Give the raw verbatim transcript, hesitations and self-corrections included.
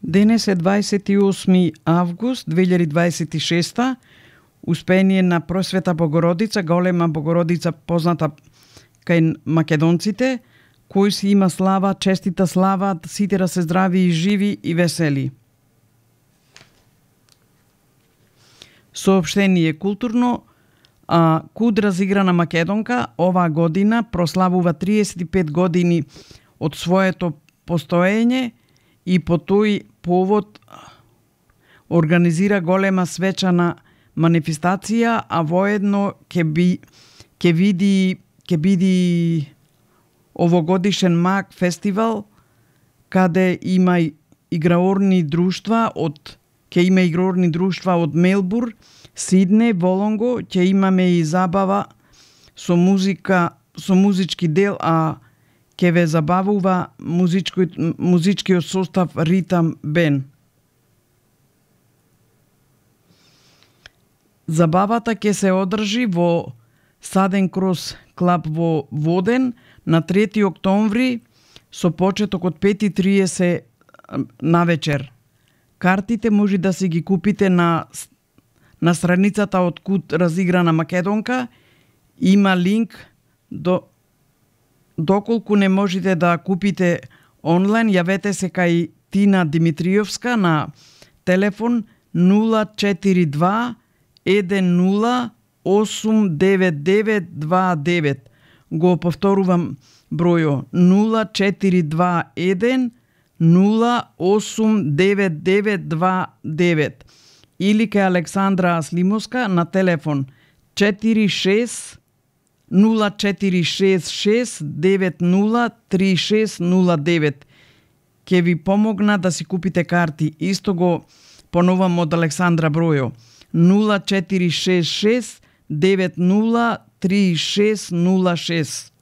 Денес е дваесет и осми август две илјади дваесет и шеста. Успение на Просвета Богородица, голема Богородица позната кај македонците, кој си има слава, честита слава, сите да се здрави и живи и весели. Соопштение културно. А, Куд разиграна македонка оваа година прославува триесет и пет години од своето постоење и по тој повод организира голема свечана манифестација, а воедно ќе би ќе види ќе биди овогодишен МАК фестивал каде има играорни друштва од ќе има играорни друштва од Мелбур, Сидне, Волонго, ќе имаме и забава со музика, со музички дел, а ќе ве забавува музички, музичкиот состав Ритам Бен. Забавата ќе се одржи во Саден Крос клаб во Воден на трети октомври со почеток од пет и триесет навечер. Картите може да си ги купите на на страницата од Куд разиграна македонка. Има линк до доколку не можете да купите онлайн, јавете се кај Тина Димитриевска на телефон нула четири два еден нула осум девет девет два девет. Го повторувам бројо нула четири два еден нула осум девет девет два девет или кај Александра Слимовска на телефон четири шест нула четири шест шест девет нула три шест нула девет. Ке ви помогна да си купите карти. Исто го поновам од Александра бројо нула четири шест шест девет нула три шест нула шест.